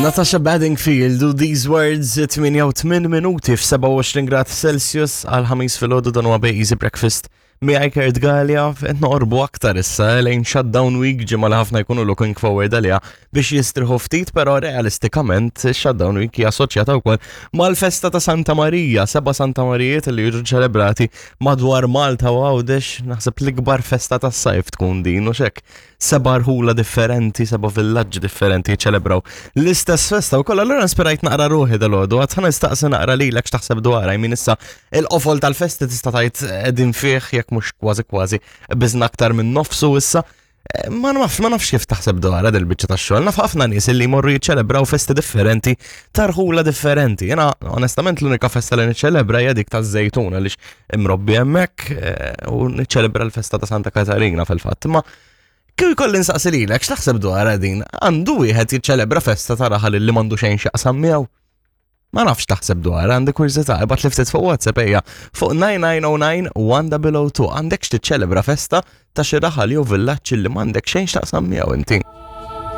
Natasha Bedingfield u These Words 88 minuti f-27 grad Celsius għal ħamis filgħodu dan huwa Easy Breakfast miegħi Kurt Gallia qed noqorbu aktar issa eh, lejn shutdown week ġimgħa li ħafna jkunu looking forward għaliha biex jistriħu ftit però realistikament shutdown week hija assoċjata wkoll mal-festa ta' Santa Marija, seba' Santa Marijiet li jiġu ċelebrati madwar Malta u Għawdex, naħseb l-ikbar festa tas-sajf tkun din u xek. Seba' rħula differenti, seba' villaġġi differenti jiċċelebraw l-istess festa wkoll. Allura inspirajt naqra ruħi dal-għodu, għad ħa nistaqsi naqra lilek x'taħseb dwarha, jmin issa il-qofol tal-festi tista' tgħid qegħdin fih jekk mhux kważi kważi biżna aktar minn nofsu issa. Eh, ma nafx, ma nafx kif taħseb dwarha dil-biċċa tax-xogħol. Naf ħafna nies li jmorru jiċċelebraw festi differenti tarħula differenti. Jena onestament l-unika festa li niċċelebra hija dik taż-żejtun għaliex imrobbi hemmhekk eh, u niċċelebra l-festa ta' Santa Katarina fil-fatt. Ma kif ikolli nsaqsi lilek x'taħseb dwar din? Għandu wieħed jiċċelebra festa ta' raħal li m'għandu xejn x'jaqsam miegħu? Ma nafx taħseb dwar, għandi kurżità, ibgħat li ftit fuq WhatsApp ejja fuq 9909 1002 għandek x'tiċċelebra festa ta' xi raħal jew villaġġ li m'għandek xejn x'taqsam miegħu inti.